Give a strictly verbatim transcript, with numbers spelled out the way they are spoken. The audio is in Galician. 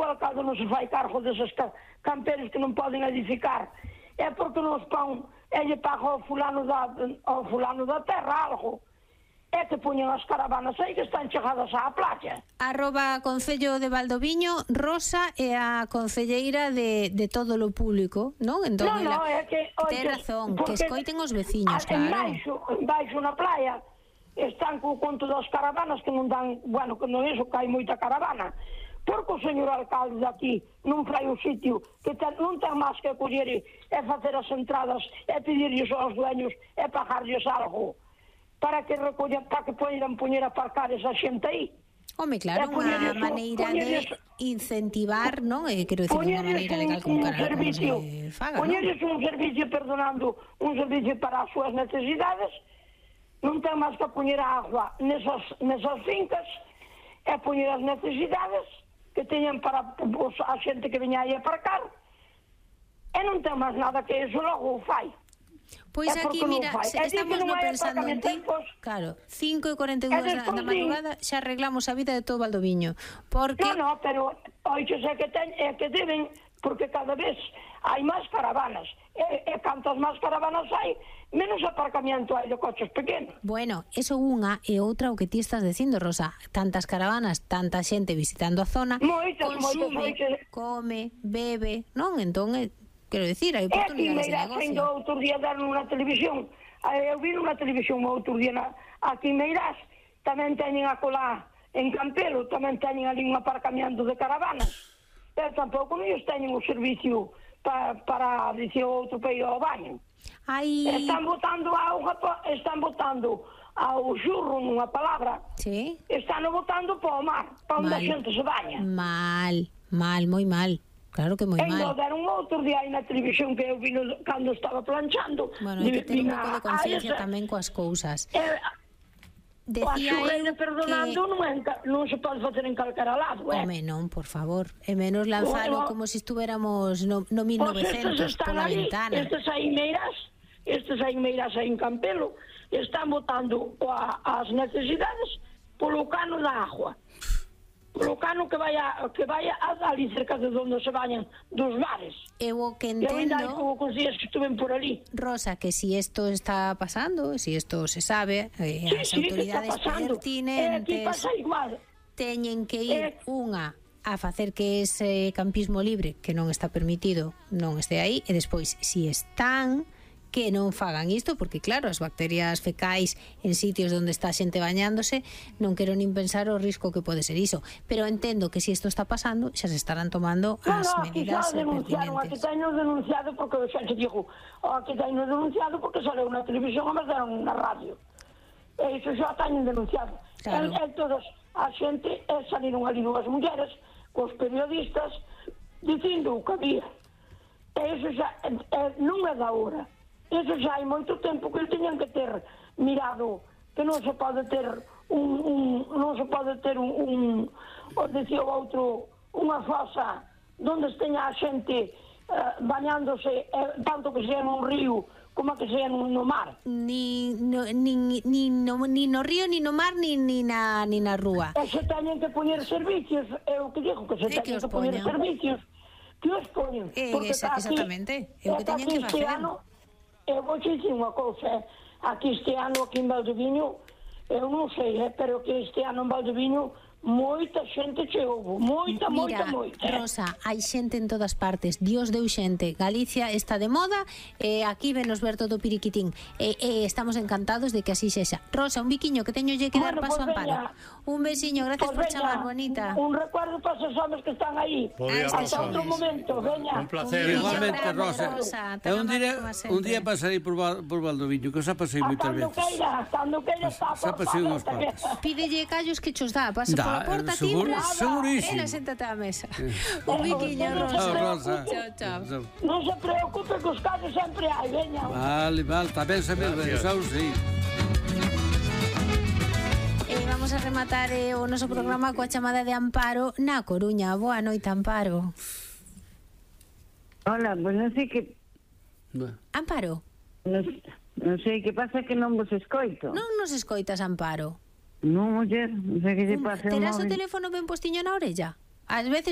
o alcalde non se fai cargo deses camperos que non poden edificar, é porque nos pon, ele paga ao fulano da, ao fulano da terra algo, é que poñen as caravanas aí que están chegadas á playa. Arroba Concello de Valdoviño, Rosa é a concelleira de, de todo lo público, non? Entón, non, non, é que... Ten razón, que escoiten os veciños, claro. En baixo, en baixo na playa, están co conto das caravanas que non dan, bueno, que non é iso, que hai moita caravana, porque o señor alcalde daqui non fai o sitio, que ten, non ten máis que coller e facer as entradas, e pedirlles aos dueños, e pagarlles algo, para que recollan, para que poidan poñer a aparcar esa xente aí. Home, claro, unha maneira de incentivar, non? Eh, quero dicir, unha maneira legal como cara como se faga, non? Poñerles un servicio, perdonando, un servicio para as súas necesidades, non ten máis que poñer a agua nesas, nesas fincas, e poñer as necesidades que teñan para pues, a xente que veña aí a aparcar, e non ten máis nada que eso, logo o fai. Pois aquí, mira, estamos no pensando en ti. Claro, cinco e cuarenta e dúas da, da madrugada xa arreglamos a vida de todo Valdoviño. Porque... No, no, pero oixo, é que, ten, é que deben, porque cada vez hai máis caravanas. E, e cantas máis caravanas hai, menos aparcamiento hai de coches pequenos. Bueno, eso unha e outra o que ti estás dicindo, Rosa. Tantas caravanas, tanta xente visitando a zona, moitas, consume, moitas, come, bebe, non? Entón, quero dicir, hai oportunidades de negocio. É, aquí Meirás, outro día deron unha televisión, eu vi unha televisión outro día na, aquí en Meirás, tamén teñen a colar en Campelo, tamén teñen ali un aparcamiento de caravanas, pero tampouco non teñen o servicio pa, para, dicir, outro peiro ao baño. Ai... Están botando auga, están botando ao xurro nunha palabra, sí. Están botando para o mar, para onde a xente se baña. Mal, mal, moi mal. Claro que moi mal. E non deron outro día aí na televisión que eu vi cando estaba planchando. Bueno, hai que ter un pouco de conciencia tamén coas cousas. Eh, Decía eu que... perdonando non, non se pode facer en calquera lado, eh? Home, non, por favor. E menos lanzalo bueno, como se si estuéramos no, no mil novecentos, pues pola ali, ventana. Estes aí meiras, estes aí meiras aí en Campelo, están botando a, as necesidades polo cano da agua. Polo cano que vai a, que vai a ali cerca de onde se bañan dos bares. Eu o que entendo... Eu ainda hai como cos días que estuven por ali. Rosa, que si esto está pasando, si esto se sabe, eh, sí, as sí, autoridades pertinentes eh, teñen que ir eh, unha a facer que ese campismo libre que non está permitido non este aí, e despois, si están, que non fagan isto, porque claro, as bacterias fecais en sitios onde está a xente bañándose, non quero nin pensar o risco que pode ser iso, pero entendo que si isto está pasando, xa se estarán tomando no, as no, medidas pertinentes. Aquí teño denunciado, porque xa te digo, aquí teño denunciado porque saleu na televisión e me deron na radio, e iso xa teño denunciado. Claro. E, e todas a xente, e saliron ali dúas mulleres cos periodistas dicindo o que había, e iso xa e, e, non é da hora. Eso xa hai moito tempo que teñan que ter mirado que non se pode ter un, un non se pode ter un, un o dicía o outro, unha fosa onde esteña a xente uh, bañándose, eh, tanto que sea nun río como que sea no, no mar. Ni no, ni, ni, no, ni no río, ni no mar, ni, ni, na, ni na rúa. E se teñen que poñer servicios, é o que digo, que se teñen que, que poñer servicios, que os poñen. Eh, esa, aquí, exactamente, é o que teñen que facer. Ano, eu vou dicir unha cousa, aquí este ano, aquí en Valdoviño, eu non sei, eh, pero que este ano en Valdoviño moita xente che houve, moita, Mira, moita, moita. Rosa, hai xente en todas partes, Dios deu xente, Galicia está de moda, e eh, aquí venos ver todo o piriquitín, e eh, eh, estamos encantados de que así sexa. Rosa, un biquiño que teño lle que dar bueno, paso pues a Amparo. Un besiño, gracias pues por chamar, bonita. Un, un recuerdo para esos homes que están aí. Hasta outro momento, veña. Un placer. Un igualmente, grande, Rosa. Rosa. É un día, un día pasarei por, por Valdoviño, que xa pasei moitas veces. Cando queira, cando queira está a xa pasei unhas cuantas. Pídelle callos que chos dá, pasa pola porta, timbre, segurísimo. Ela séntate á mesa. Un biquiño, Rosa. Chao, Rosa. Chao, chao. Non se preocupe que os callos sempre hai, veña. Vale, vale, tamén se me xa o sei. Vamos a rematar eh, o noso programa coa chamada de Amparo na Coruña. Boa noite, Amparo. Hola, pues non sei que... Amparo? Non, non sei que pasa que non vos escoito. Non nos escoitas, Amparo? Non, muller, non sei que lle pasa. Terás o teléfono ben postiño na orella? Ás veces